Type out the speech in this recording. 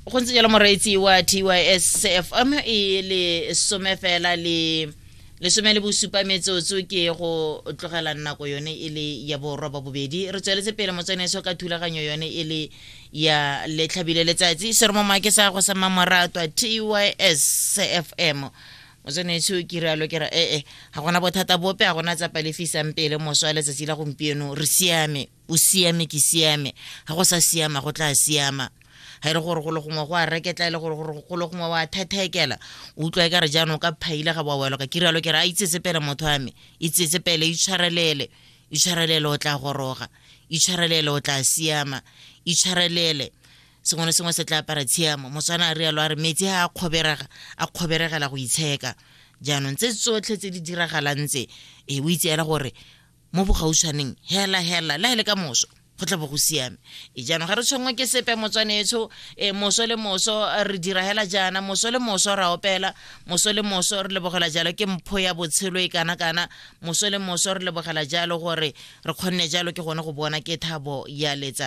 Go ntse jalo, moreetsi wa TYS FM, e le some fela le 17 metsotso ke go tlogela nako yone e le ya boroba bobedi. Re tsweletse pele, motswaneso, ka thulaganyo yone e le ya Letlhabile Letsatsi, seromoma ke sa go sa mamoratwa TYS FM. Motswaneso, ke rialo ke ra ee, ga gona bothata bope, ga gona tsapa le fisang pele. Moso wa letsatsi la gompieno re siame, o siame, ke siame. Ga go sa siama, go tla siama. Ga e le gore go le gongwe go a reketla, e le gore go le gongwe wa thethekela, o utlwa e ka re jaanong ka phaile ga boa welwa ka. Ke rialo ke re a itsetse pele, motho wa me, itsetse pele, itshwarelele, itshwarelele, o tla goroga, itshwarelele, o tla siama, itshwarelele, sengwe le sengwe se tla apara tshiamo. Motswana a rialo a re metsi a kgoberega, a kgoberegela go itsheka. Jaanong tse tsotlhe tse di diragalang tse, e o itse ela gore mo bogautshwaneng hela hela le ha e le ka moso go tla bo go siame. E jaanong ga re tshwenngwe ke sepe, motswanetsho. E moso le moso re dira hela jaana, moso le moso ra opela, moso le moso re lebogela jalo ke mpho ya botshelo e kana kana, moso le moso re lebogela jalo gore re kgonne jalo ke gone go bona ke thabo ya letsatsi.